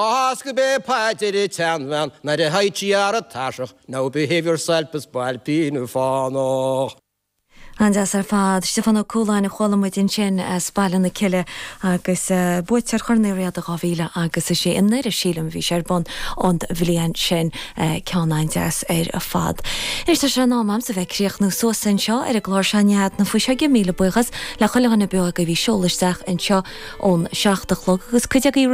Is gurb é paidir an tseanbhean nuair a théid sí thar an tairseach, Now behave yourself a spailpín fánach. An-deas ar fad. Stiofán Ó Cualáin a chuala muid ansin as Baile na Cille agus buaiteoir Chorn Uí Riada 2000 agus 6 i nDoire, sílim, a bhí sé ar bun an bhliain sin. Ceann an-deas ar fad. Anois tá sé in am a'msa bheith ag críochnú suas anseo ar an gclár seo Nead na Fuiseoige. Míle buíochas le chuile dhuine beo agaibh a bhí ag seoladh isteach anseo ón 7 a chlog agus cuid agaibh.